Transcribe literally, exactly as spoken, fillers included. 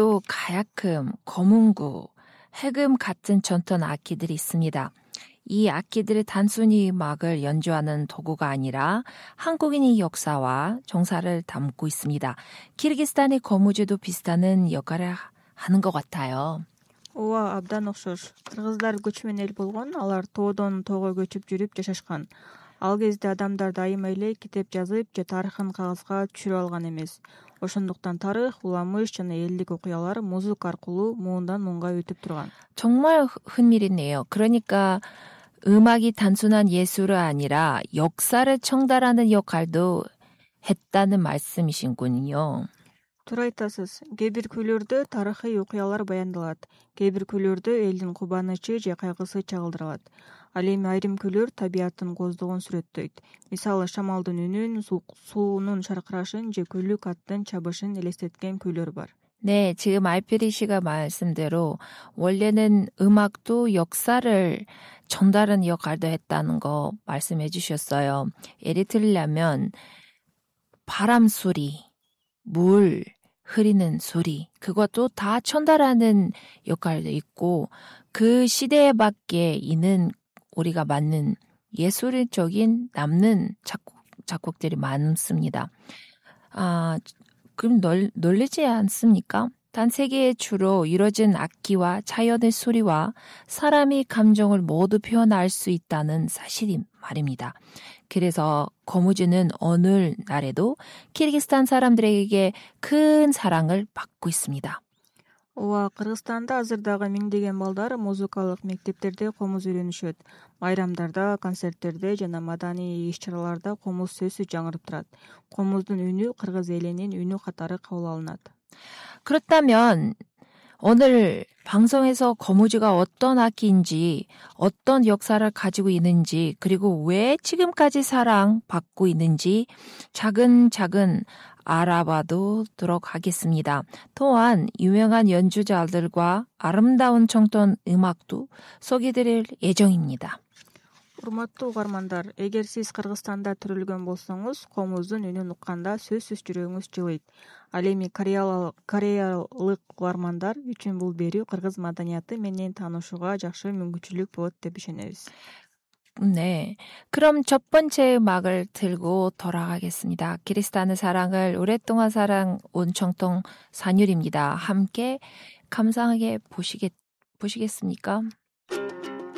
우리나라에도 가야금, 거문구, 해금 같은 전통 악기들이 있습니다. 이 악기들이 단순히 음악을 연주하는 도구가 아니라 한국인의 역사와 정사를 담고 있습니다. 키르기스탄의 거무주도 비슷한 역할을 하는 것 같아요. ооба, абдан окшош. Кыргыздар көчмөн эл болгон, алар тоодон тоого көчүп жүрүп жашашкан. Ал кезде адамдар дайыма эле китеп жазып же тарыхын кагазга түшүрүп алган эмес. Ошондуктан тарых, уламыш жана элдик окуялар музыка аркылуу муундан муунга өтүп турган. 정말 흥미롭네요. 그러니까 음악이 단순한 예술이 아니라 역사를 전달하는 역할도 했다는 말씀이신군요. Туура айтасыз. Кээ бир күйлөрдө тарыхый окуялар баяндалат. Кээ бир күйлөрдө элдин кубанычы же кайгысы чагылдырылат. Ал эми айрым күйлөр табияттын коздугун сүрөттөйт. Мисалы, шамалдын үнүн, суунун шаркырашын же күлүк аттын чабышын элестеткен күйлөр бар. 네, 지금 알피리 씨가 말씀대로 원래는 음악도 역사를 전달하는 역할도 했다는 거 말씀해 주셨어요. 예를 들려면 바람 소리, 물 흐리는 소리, 그것도 다 전달하는 역할도 있고 그 시대에 맞게 있는 우리가 맞는 예술적인 남는 작곡, 작곡들이 많습니다. 아, 그럼 널, 놀리지 않습니까? 단 세계에 주로 이루어진 악기와 자연의 소리와 사람의 감정을 모두 표현할 수 있다는 사실이 말입니다. 그래서 거무주는 오늘날에도 키르기스탄 사람들에게 큰 사랑을 받고 있습니다. ооба, Кыргызстанда азыр дагы миңдеген балдар музыкалык мектептерде комуз үйрөнүшөт. Майрамдарда, концерттерде жана маданий иш-чараларда комуз сөзсүз жаңырып турат. Комуздун үнү кыргыз элинин үнү катары кабыл алынат. 그렇다면 오늘 방송에서 거무주가 어떤 악기인지, 어떤 역사를 가지고 있는지, 그리고 왜 지금까지 사랑받고 있는지 차근차근 알아봐도록 하겠습니다. 또한 유명한 연주자들과 아름다운 청톤 음악도 소개드릴 예정입니다. Урматтуу угармандар, эгер сиз Кыргызстанда төрөлгөн болсоңуз, комуздун үнүн укканда сөзсүз жүрөгүңүз жылыйт. Ал эми кореялык угармандар үчүн бул берүү кыргыз маданияты менен таанышууга жакшы мүмкүнчүлүк болот деп ишенебиз. 네, 그럼 첫 번째 음악을 들고 돌아가겠습니다. 키르기스탄의 사랑을 오랫동안 살아온 청통 산율입니다. 함께 감상하게 보시겠, 보시겠습니까?